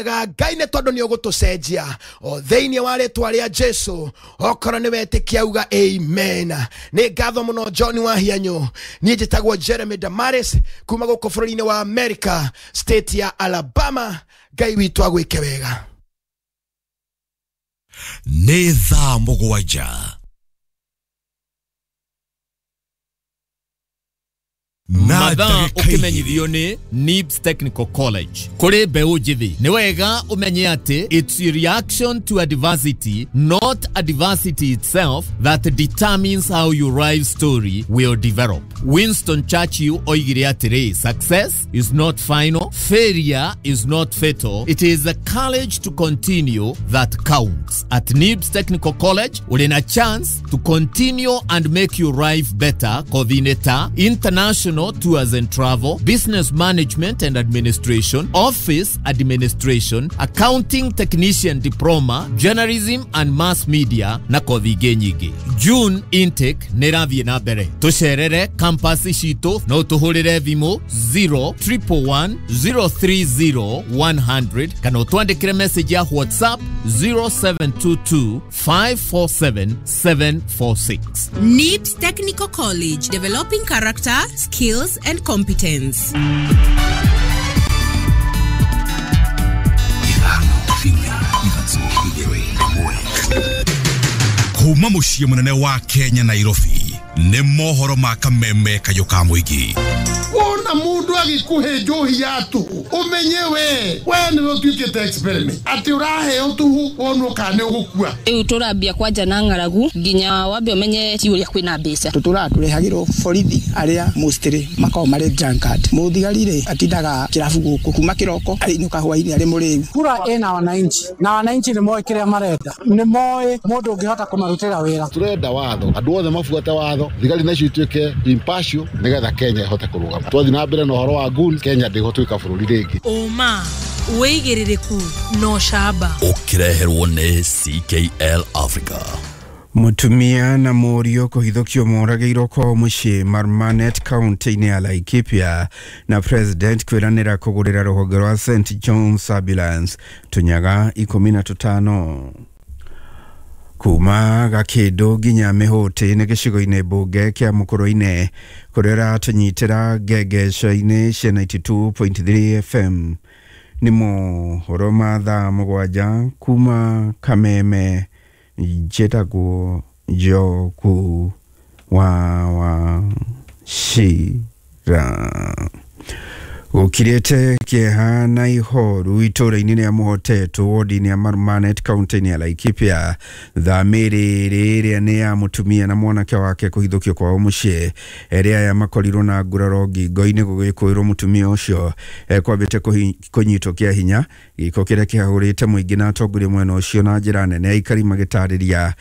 Ngai nĩ tondũ nĩ ũgũtũcenjia o thĩinĩ wa rĩtwa rĩa Jesu. Okorwo nĩ wetĩkia uga amen. Nĩ ngatho mũno John Wahianyũ. Niĩ njĩtagwo Jeremy Damaris kuma gũkũ bũrũri-inĩ wa America, state ya Alabama. Ngai witũ agwĩke wega. Nĩ thaa 7 na Mathaa. ndagĩka Ũkĩmenyithio nĩ NIBS Technical College kũrĩ mbeũ njĩthĩ, nĩ wega ũmenye atĩ it's your reaction to adversity, not adversity itself, that determines how your life story will develop. Winston Churchill oigire atĩrĩ, "Success is not final, failure is not fatal, it is the courage to continue that counts." At NIBS Technical College ũrĩ na chance to continue and make your life better. Kothi-inĩ ta international tours and travel, business management and administration, office administration, accounting technician diploma, journalism and mass media na kothi ingĩ nyingĩ. June intake nĩ ĩrathiĩ na mbere. Tũcerere campus citũ, no tũhũrĩre thimũ 0 111 030 100 kana ũtwandĩkĩre message ya WhatsApp 0722 547 746. NIBS Technical College, developing character, skills, and competence. 5 4 3 2 1. Kuma mũciĩ mũnene wa Kenya, Nairobi, nĩ mohoro ma kameme kayũ ka mũingĩ. Wona mundu agikuhe njohi ya tuhu, umenye we niwe utuikite experiment ati uraheo tuhu wonwo kana ni ugukua. Rĩu tũrambia kwanja na ng'aragu nginya wambe ũmenye ti ũrĩa kwĩna mbeca. Tũtũraga tũrehagĩrwo borithi arĩa mostly makoragwo marĩ drunkard. Mũthigari rĩ atindaga kĩrabu gũkũ kuma kĩroko ainũka hwainĩ arĩ mũrĩu. Kura ĩna wananchi na wananchi nĩ moĩ kĩrĩa marenda, nĩ moĩ mũndũ ũngĩhota kũmarutĩra wĩra. Turenda watho, andũ othe mabuate watho, thigari nacio ituĩke impartial nĩgetha Kenya ĩhote kũrũgama. Twathiĩ na mbere na ũhoro wa goons, Kenya ndĩgũtuĩka bũrũri rĩngĩ. Ũma, wĩigĩrĩrĩku na ũcamba. Ũkĩreherwo nĩ CKL Africa. Mũtumia na mũriũ kũhithũkio moragĩirwo kwao mũciĩ Marmanet, kaunti-inĩ ya Laikipia, na president kwĩranĩra kũgũrĩra rũhonge rwa St John's Ambulance tũnyaga 15. Kuma Gakĩndũ nginya Mĩhũtĩ nĩ gĩcigo-inĩ mbunge kĩa Mũkũrũ-inĩ, kũrĩa ũratũnyitĩra ngengeco-inĩ cia 92.3 FM. Nĩ mohoro ma thaa 7 kuma Kameme. Njĩtagwo Njoku wa Wachira. Gũkirĩte kĩeha na ihoru itũũra-inĩ rĩa Mũhotetwo, wodi-inĩ ya Marmanet, kaunti-inĩ ya Laikipia, thamĩrĩ ĩrĩa nĩ ya mũtumia na mwanake wake kũhithũkio kwao mũciĩ. Erĩ aya makorirwo na nguraro ngingo-inĩ, gũgĩkũĩrwo mũtumia ũcio ekwambĩte kũnyitwo kĩa hinya, gĩko kĩrĩa kĩhahũrĩte mũingĩ na atongoria mwena ũcio na njĩra nene, aikari magĩtarĩria.